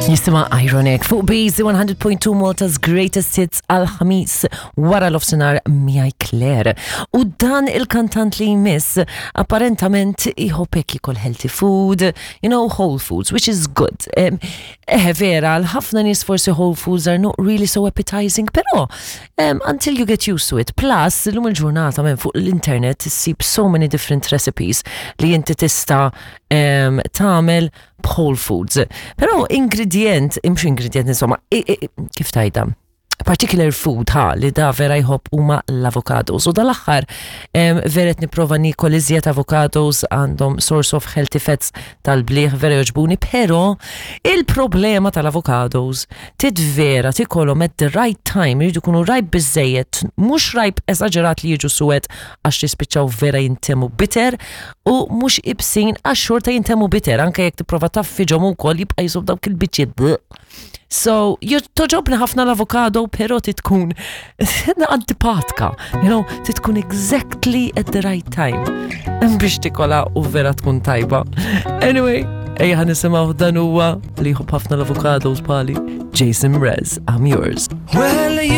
Jisimha Ironic fuq Beezy 100.2 Malta's Greatest Hits għal ħamis wara l-ofsinar miegħi Claire. U dan il-kantant li jmiss apparentament iħobb hekk jikol healthy food, you know, whole foods, which is good. Eħe vera, għal ħafna nies forsi whole foods are not really so appetizing, però until you get used to it. Plus, illum il-ġurnata minn fuq l-internet issib so many different recipes li inti tista' tagħmel b'whole foods. Però ingredient, imx ingredient insomma, kif tajda? Particular food ha li da vera jħobb huma l-avocados. U dal-aħħar vera qed nipprova niekol iżjed avocados għandhom source of healthy fats tal-bliħ vera jogħġbuni, però il-problema tal-avocados tit vera tikolhom at the right time, jridu jkunu ripe biżejjed, mhux ripe esaġerat li jiġu suwed għax jispiċċaw vera jintemu bitter u mhux ibsin għax xorta jintemu bitter anke jekk tipprova taffiġhom ukoll jibqa' jisub dawk il-biċċiet. So, toġobni ħafna l-avokado, pero titkun antipatka, you know, titkun exactly at the right time. Biex tikola u vera tkun tajba. Anyway, ejja ħa nisimgħu dan huwa li jħobb ħafna l-avokados bħali Jason Mraz, I'm yours. Well, you